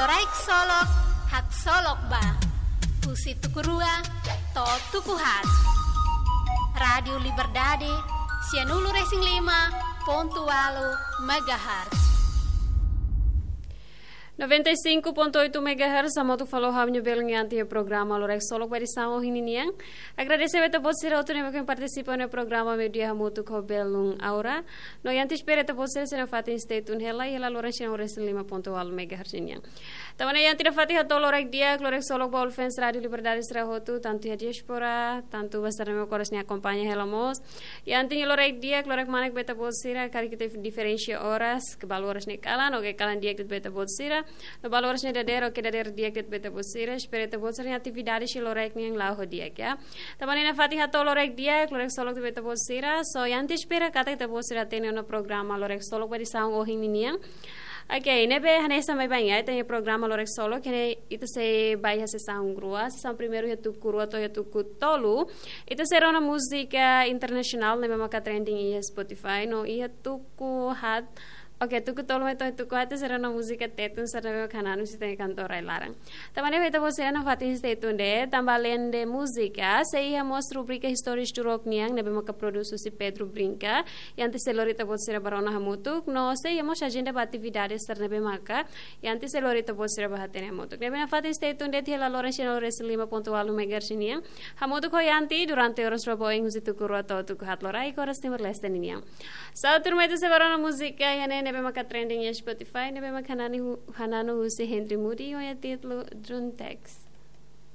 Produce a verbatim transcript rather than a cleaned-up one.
Loraik Solok, Haksolok Ba. Husi tuku rua to'o tuku haat. Rádiu Liberdade, sianulu-resin-lima pontu ualu megahertz. Noventa e cinco ponto oito megahertz, hamutuk fali ho ha'u-nia belun Yanti iha programa Loraik Solok ba edisaun ohin ninian. Agradese ba ita-boot sira hotu ne'ebé partisipa iha programa Meiudia hamutuk ho belun Aura. No Yanti espera ita-boot sira sei nafatin stay tune hela, iha laloran sianulu-resin-lima pontu ualu megahertz ninian. Tanba ne'e Yanti nafatin hato'o loraik di'ak, Loraik Solok ba all fans Rádiu Liberdade sira hotu, tantu iha diáspora, tantu ba sira ne'ebé oras ne'e akompaña hela mós. Yanti nia loraik di'ak, loraik manek ba ita-boot sira, karik ita diferensia oras, ke balu oras ne'e kalan, oke kalan di'ak de'it ba ita-boot sira. No balu oras ne'e dadeer, oke dadeer di'ak de'it ba ita-boot sira. Espera ita-boot sira-nia atividade iha loraik nian la'o ho di'ak, ya. Tanba ne'e nafatin hato'o loraik di'ak, Loraik Solok de'it ba ita-boot sira. So, Yanti espera katak ita-boot sira hatene ona programa Loraik Solok ba edisaun ohin ninian. Oke, ne'ebé hanesan baibain, ya, ita-nia programa Loraik Solok, ne'e ita sei ba iha sesaun rua, sesaun primeiru iha tuku rua to'o iha tuku tolu. Ita sei rona múzika internasionál ne'ebé maka trending iha Spotify, no iha tuku haat. Oke, tuku tolu mai to'o tuku haat ita sei rona múzika Tetun, sira ne'ebé maka hananu husi ita-nia kantór rai-laran. Tanba ne'e ba ita-boot sira nafatin stay tune de'it, tanba aleinde múzika, sei iha mós rubrika Istória Isturok nian, ne'ebé maka prodús husi Pedro Brinca, Yanti sei lori ita-boot sira ba rona hamutuk, no sei iha mós ajenda ba atividade sira ne'ebé maka, Yanti sei lori ita-boot sira ba hatene hamutuk. Ne'ebé nafatin stay tune de'it iha laloran sianulu-resin-lima pontu ualu megahertz nian. Hamutuk ho Yanti durante oras rua ba oin husi tuku rua to'o tuku haat loraik oras Timor-Leste ninian. Sa'e tuirmai ita sei ba rona múzika iha ne'e ne'ebé maka trending iha Spotify, ne'ebé maka hananu hu-, hananu husi Henry Moody, ho nia títulu Druntex.